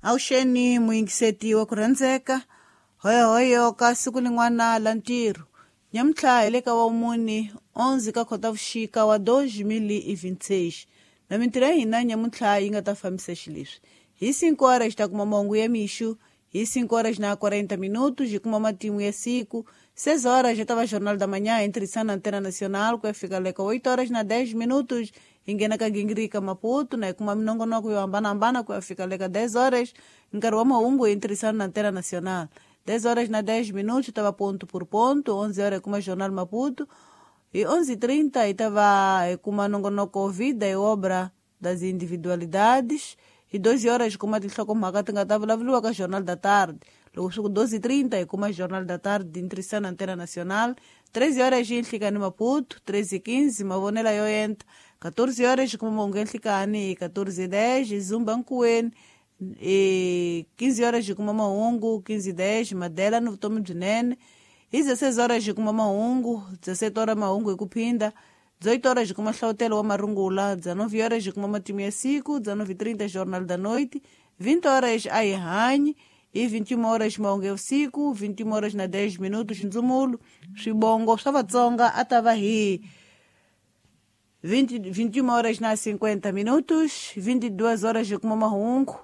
Avuxeni muyingiseti wa ku rhandzeka hoyohoyo ka siku lin'wana la ntirho nyamuntlha hi le ka wamune 11 ka Khotavuxika wa 2026 na mintirho ya hina nyamuntlha yi nga ta fambisa xileswi hi 5 horas hi ta kuma mahungu ya mixo hi 5 horas na 40 minutos hi kuma matimu ya siku 6 horas já tava Jornal da Manhã em na Antena Nacional ku ya fika le ka 8 horas na 10 minutos hi nghena ka gingirika Maputo na hi kuma minongonoko yo hambanahambana ku ya fika le ka 10 horas nkarhi wa mahungu hi ntirhisano na Antena Nacional 10 horas na 10 minutos tava ponto por ponto 11 horas hi kuma Jornal Maputo e 11:30 hi tava hi kuma nongonoko Vida e Obra das Individualidades hi 12 horas hi kuma tinhlokomhaka ti nga ta vulavuriwa ka Jornal da Tarde loko swi ku 12:30 hi kuma Jornal da Tarde hi ntirhisano na Antena Nacional 13 horas hi nhlikani Maputo 13:15 mavonela yo enta 14 horas hi kuma mahungu ya nhlikani hi 14:10 hi Zumba Nkuweni hi 15 horas hi kuma mahungu 15:10 Madela ni vutomi byinene hi 16 horas hi kuma mahungu 17 horas mahungu hi ku phinda 18 horas hi kuma hlavutelo wa marungula 19 horas hi kuma matimu ya siku 19:30 Jornal da Noite 20 horas a hi hanyi hi 21 horas mahungu ya vusiku 21 horas na 10 minutos ndzumulo swibongo swa Vatsonga a ta va hi 21 horas na 50 minutos 22 horas hi kuma mahungu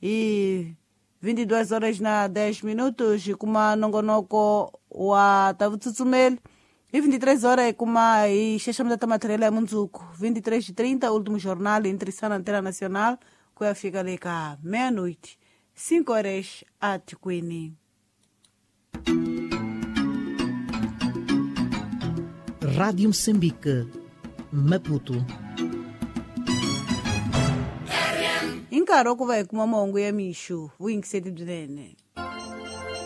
hi 22 horas na 10 minutos hi kuma nongonoko wa ta vutsutsumeli hi 23 horas hi kuma hi xaxameta ta matirhelo ya mundzuku 23:30 último jornal hi ntirhisano Antena Nacional ku ya fika le ka meia-noite 5 horas atikweni. Rádio Moçambique, Maputo. Hi nkarhi wa ku va hi kuma mahungu ya mixo vuyingiseti byinene.